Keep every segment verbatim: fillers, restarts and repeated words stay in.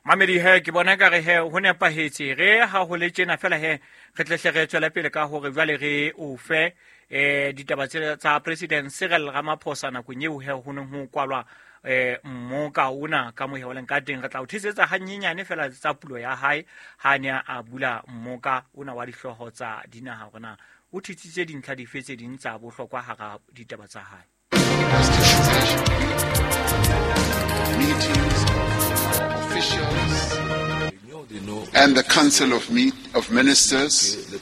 Mamedi he ke bona ka re he ho nepahetse re ha ho le tjena fela he re tle hle re tswele pele ka hore jwale re o fe eh ditaba tse tsa President Cyril Ramaphosa nakong eo he ho neng ho kwalwa eh mmoka ona ka mohe o leng ka teng. Re tla o thisetsa hanyenyane fela tsa pulo ya hae ha ne a bula mmoka ona wa dihlooho tsa dinaha hore na o thitsitse dintlha dife tse ding tsa bohlokwa hara ditaba tsa hae. Meetings of officials and the Council of, Meet, of Ministers,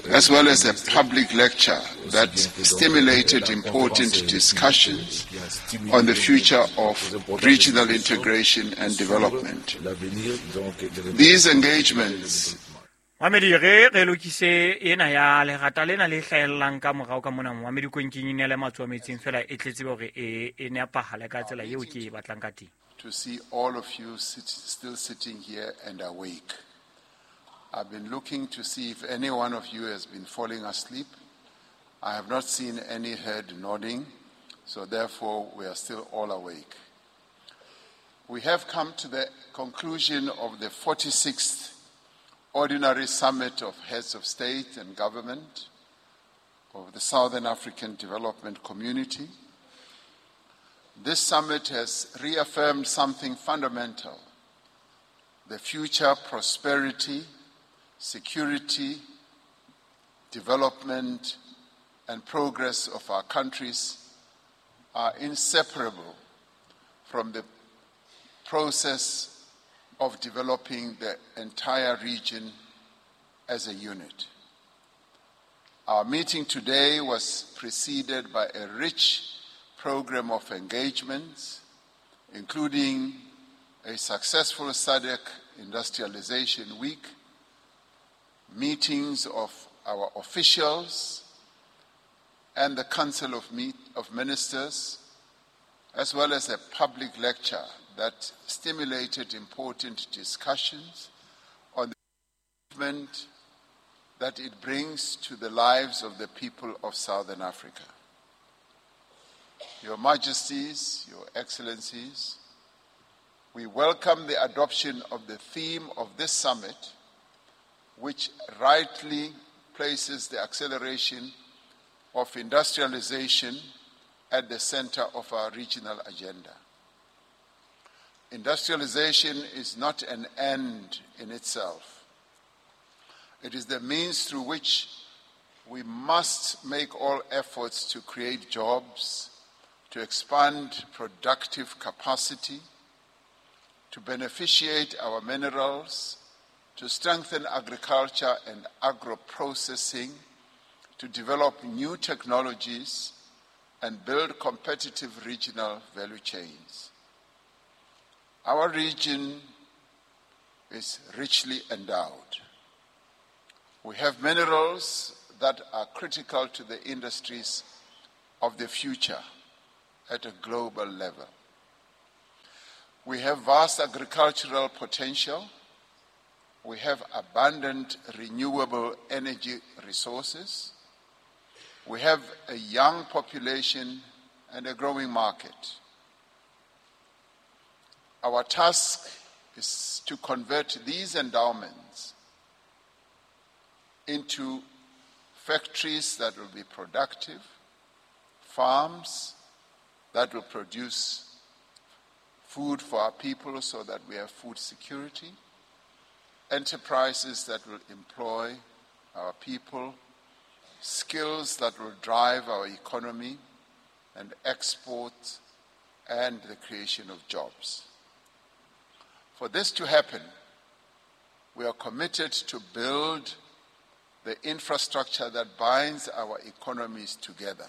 as well as a public lecture that stimulated important discussions on the future of regional integration and development. These engagements Mamedi re re lokise ena ya lerata lena le hlahellang ka morao ka mona Mamedi konkeng ine le matsoa metsing fela e tletse hore e e nepahale ka tsela eo ke e batlang ka teng. To see all of you sit, still sitting here and awake. I've been looking to see if any one of you has been falling asleep. I have not seen any head nodding, so therefore we are still all awake. We have come to the conclusion of the forty-sixth Ordinary Summit of Heads of State and Government of the Southern African Development Community. This summit has reaffirmed something fundamental: the future prosperity, security, development, and progress of our countries are inseparable from the process of developing the entire region as a unit. Our meeting today was preceded by a rich program of engagements, including a successful S A D C Industrialization Week, meetings of our officials and the Council of, Meet, of Ministers, as well as a public lecture that stimulated important discussions on the movement that it brings to the lives of the people of Southern Africa. Your Majesties, Your Excellencies, we welcome the adoption of the theme of this summit, which rightly places the acceleration of industrialization at the center of our regional agenda. Industrialization is not an end in itself. It is the means through which we must make all efforts to create jobs, to expand productive capacity, to beneficiate our minerals, to strengthen agriculture and agro-processing, to develop new technologies, and build competitive regional value chains. Our region is richly endowed. We have minerals that are critical to the industries of the future at a global level. We have vast agricultural potential. We have abundant renewable energy resources. We have a young population and a growing market. Our task is to convert these endowments into factories that will be productive, farms that will produce food for our people so that we have food security, enterprises that will employ our people, skills that will drive our economy and exports and the creation of jobs. For this to happen, we are committed to build the infrastructure that binds our economies together.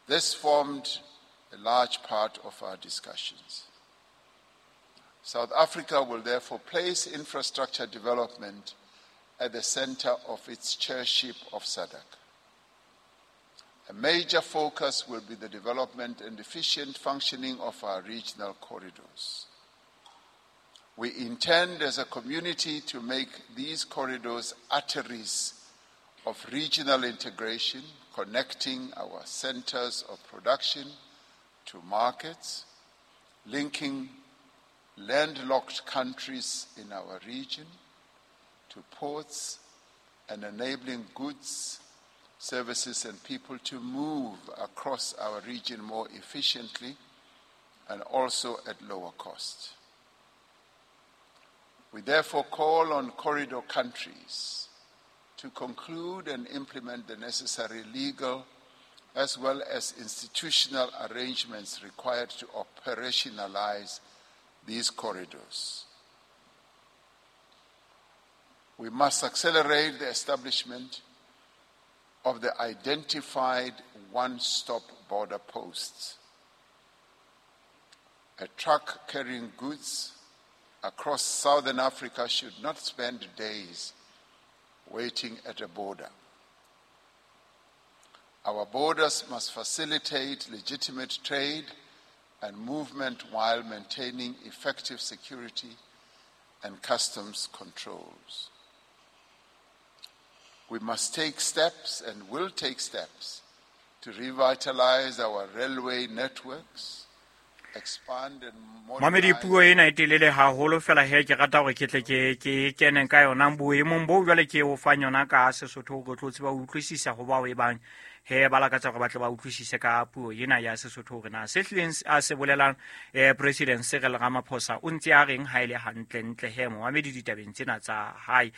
This formed a large part of our discussions. South Africa will therefore place infrastructure development at the center of its chairship of S A D C. A major focus will be the development and efficient functioning of our regional corridors. We intend as a community to make these corridors arteries of regional integration, connecting our centers of production to markets, linking landlocked countries in our region to ports and enabling goods, services and people to move across our region more efficiently and also at lower cost. We therefore call on corridor countries to conclude and implement the necessary legal as well as institutional arrangements required to operationalize these corridors. We must accelerate the establishment of the identified one-stop border posts. A truck carrying goods across southern Africa should not spend days waiting at a border. Our borders must facilitate legitimate trade and movement while maintaining effective security and customs controls. We must take steps and will take steps to revitalize our railway networks, expand and Mamedi modernize. Puo ena e telele haholo fela he ke rata hore ke tle ke ke keneng ka yona boemong bo jwale ke o fang yona ka Sesotho hore o tlo tseba ho utlwisisa ho bao e bang he ba lakatsa hore ba tle ba utlwisise ka puo ena ya Sesotho hore na se hlileng a se bolelang eh, President Cyril Ramaphosa o ntse a reng ha e le hantlentle he momamedi ditabeng tsena tsa hae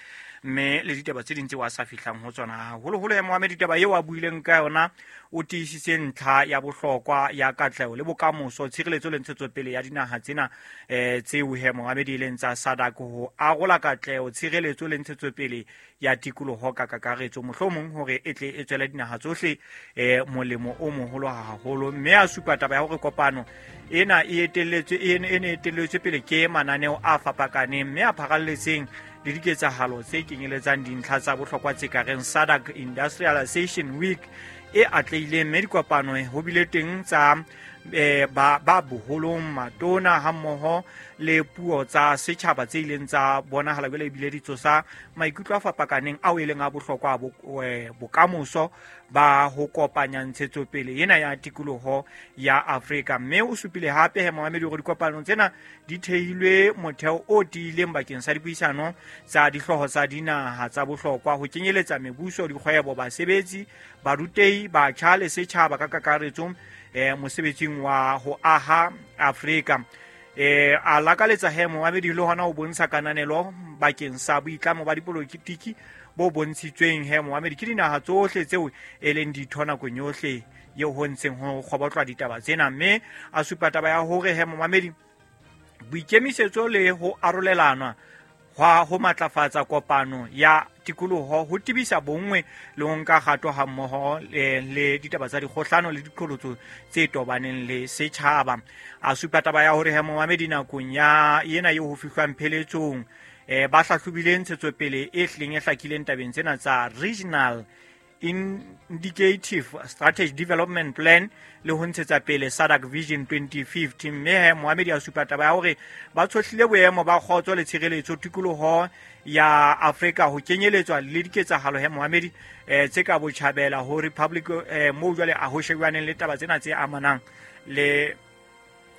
mme le ditaba tse ding tseo a sa fihlang ho tsona haholoholo he momamedi taba eo a buileng ka yona o tiisitse ntlha ya bohlokwa ya katleho le bokamoso tshireletso le ntshetsopele ya dinaha tsena eh, tseo he momamedi e leng tsa SADC ho arola katleho tshireletso le ntshetsopele ya tikoloho ka kakaretso mohlomong hore e tle e tswele dinaha tsohle eh, molemo o moholo haholo mme a supa taba ya hore kopano ena e etelletswe e ne e ne etelletswe pele ke mananeo a fapakaneng mme a pharalletseng le diketsahalo tse kenyeletsang dintlha tsa bohlokwa tse ka reng SADC Industrialization Week e atlehileng mme dikopano ho bile teng tsa eh, ba, ba boholong matona hammoho le puo tsa setjhaba tse ileng tsa bonahala jwale ebile di tsosa maikutlo a fapakaneng ao e leng a bohlokwa a bo- eh, bokamoso ba ho kopanya ntshetsopele ena ya tikoloho ya Afrika mme o supile hape he momamedi hore dikopanong tsena di thehilwe motheo o tiileng bakeng sa dipuisano tsa dihlooho tsa dinaha tsa bohlokwa ho kenyeletsa mebuso dikgwebo basebetsi barutehi batjha le setjhaba ka kakaretso eh, mosebetsing wa ho aha Afrika eh a lakaletsa he momamedi le hona ho bontsha kananelo bakeng sa boitlamo ba dipolotiki bo bontshitsweng he momamedi ke dinaha tsohle tseo e leng ditho nakong yohle eo ho ntseng ho kgobotlwa ditaba tsena mme a supa taba ya hore he momamedi boikemisetso le ho arolelanwa hwa ho matlafatsa kopano ya tikoloho ho tebisa bonngwe le ho nka kgato hammoho le, le ditaba tsa dikgohlano le diqholotso tse tobaneng le setjhaba a supa taba ya hore he momamedi nakong ya ena eo ho fihlwang pheletsong eh, ba hlahlobile ntshetsopele e hlileng e hlakileng tabeng tsena tsa regional indicative strategy development plan le ho ntshetsa pele SADC Vision twenty fifty mme he Mohamedi a supa taba ya hore ba tshohlile boemo ba kgotso le tshireletso tikoloho ya Afrika ho kenyeletswa le diketsahalo he Mohamedi eh, tse ka botjhabela ho Republic eh, moo jwale a ho shebjaneng le taba tsena tse amanang le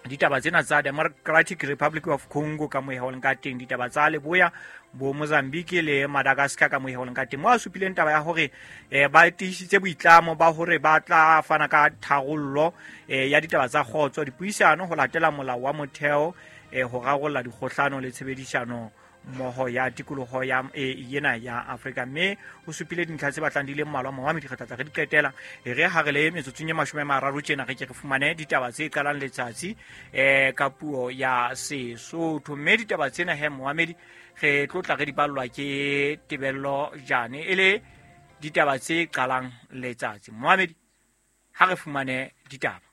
ditaba tsena tsa Democratic Republic of Congo ka moo e leng ka teng ditaba tsa leboya bo Mozambique le Madagascar ka moo e leng ka teng mo a supileng taba ya hore eh, ba tiisitse boitlamo ba hore ba tla fana ka tharollo eh, ya ditaba tsa kgotso dipuisano ho latela molao wa motheo eh, ho rarolla dikgohlano le tshebedisano mmoho ya tikoloho ya e, ena ya Afrika mme o supile dintlha tse batlang di le mmalwa mohamedi re tla tla re di qetela e re ha re le metsotsong e mashome a mararo tjena re ke re fumane ditaba tse qalang letsatsi eh ka puo ya Sesotho mme ditaba tsena he mohamedi re tlo tla re di ballwa ke Tebello Jane e le ditaba tse qalang letsatsi mohamedi ha re fumane ditaba.